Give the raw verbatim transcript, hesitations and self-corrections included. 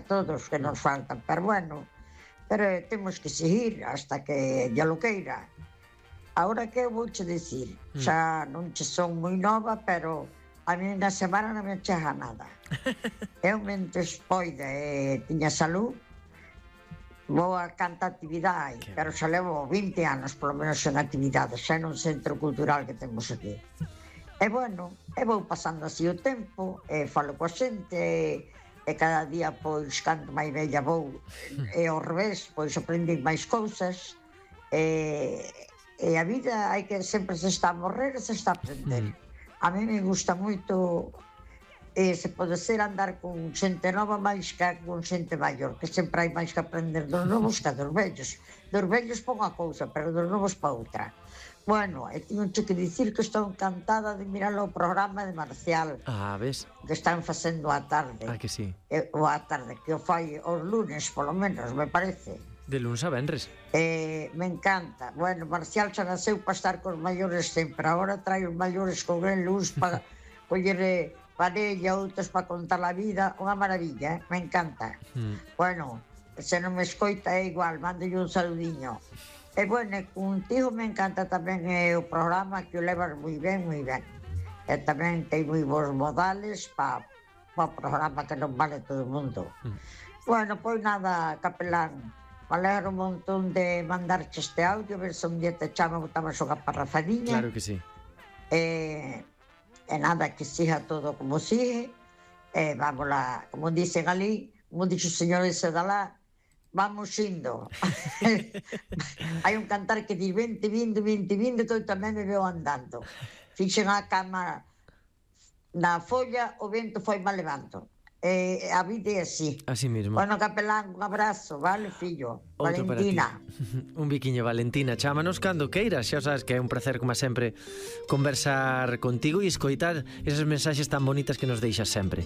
todos que nos faltan, pero bueno, pero temos que seguir hasta que ya lo queira. Ahora que eu vouche dicir, xa non che son moi nova, pero a mí na semana non me chega nada. Eu mentres poida e tiña salud, vou a canta actividade, pero xa levo vinte anos polo menos en actividade, xa nun centro cultural que temos aquí. E bueno, e vou pasando así o tempo, e falo coa xente, e, e cada día, pois, canto máis bella vou, e ao revés, pois aprendín máis cousas, e, e a vida hai que sempre se está a morrer e se está a aprender. A mí me gusta moito, e se pode ser andar con xente nova máis que con xente maior, que sempre hai máis que aprender dos novos que dos vellos. Dos vellos pa unha cousa, pero dos novos pa outra. Bueno, e teño que dicir que estou encantada de mirar o programa de Marcial. Ah, ves? Que están facendo a tarde. Ah, que sí. E, o a tarde, que o fai os lunes, polo menos, me parece. De lunes a venres. Eh, me encanta. Bueno, Marcial xa nasceu para estar cos maiores sempre. Agora trae os maiores con el luz para coller parella, outros para contar a vida. Unha maravilla, eh? Me encanta. Mm. Bueno, se non me escoita é igual, mándolle un saludiño. E bueno, contigo me encanta tamén eh, o programa, que o levas moi ben, moi ben. E tamén ten moi bons modales para pa o programa que non vale todo o mundo. Mm. Bueno, pois nada, capelán, me alegro un montón de mandarche este audio, ver se un día te chama, botamos unha parrafadiña. Claro que sí. E, e nada, que siga todo como sigue. E vamos lá, como dicen ali, como dixo o señor ese de lá, vamos indo. Hai un cantar que di vinte, vinte, vinte, vinte, que eu tamén me veo andando. Fixen a cama na folla, o vento foi mal levando. Eh, a vida é así. Así mismo. Bueno, capelán, un abrazo, vale, fillo? Outro Valentina. Un biquiño, Valentina. Chámanos cando queiras. Xa sabes que é un placer, como sempre, conversar contigo e escoitar esas mensaxes tan bonitas que nos deixas sempre.